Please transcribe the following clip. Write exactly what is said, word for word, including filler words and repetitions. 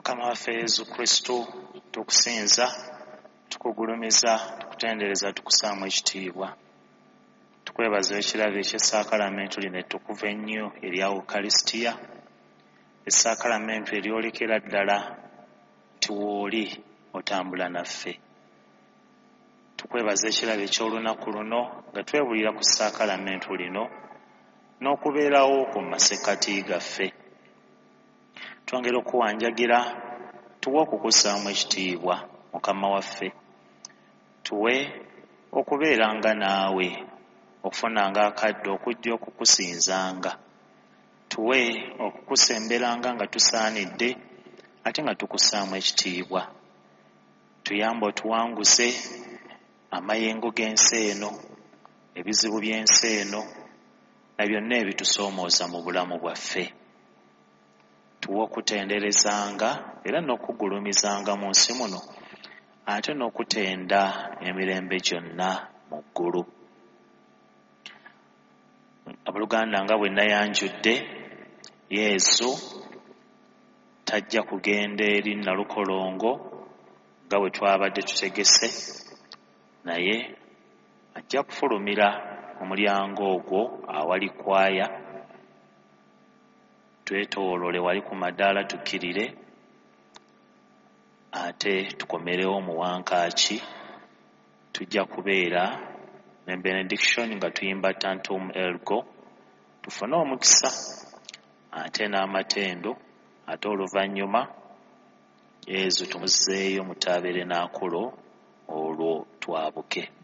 Mukama waffe Yesu Kristo, tukusinza, tukugulumiza, tukutendereza, tukusaamu ekitiibwa. Tukwebaza ekirabo eky'essaakalamentu lino ettukuvu ennyo erya Ukaristia, essaakalamentu eryolekera ddala nti w'oli otambula naffe. Tukwebaza ekirabo eky'olunaku luno nga twebulira ku ssaakalamentu lino n'okubeerawo ku masekkati gaffe. Twongera okuwanjagira tuwe okukussaamu ekitiibwa Mukama waffe, tuwe okubeeranga naawe, okufunanga akadde okujja okukusinzanga, tuwe okukusemberanga nga tusaanidde ate nga tukussaamu ekitiibwa. Tuyambe otuwanguze amayengo g'ensi eno, ebizibu by'ensi eno na byonna ebitusoomooza mu bulamu bwaffe. Tuwe okutenderezanga era n'okugulumizanga mu nsi muno, ate n'okutenda emirembe gyonna mu ggulu. Abooluganda, nga bwe nayanjudde, Yesu tajja kugenda eri Nalukolongo nga bwe twabadde tutegese, naye ajja kufulumira mu mulyango ogwo awali kwaya, twetooloole wali ku madaala tukkirire, ate tukomerewo mu wankaaki. Tujja kubeera ne benediction nga tuyimba Tantum Ergo, tufune omukisa ate n'amatendo, ate oluvannyuma Yesu tumuzzeeyo mu tabernakulo, olwo twabuke.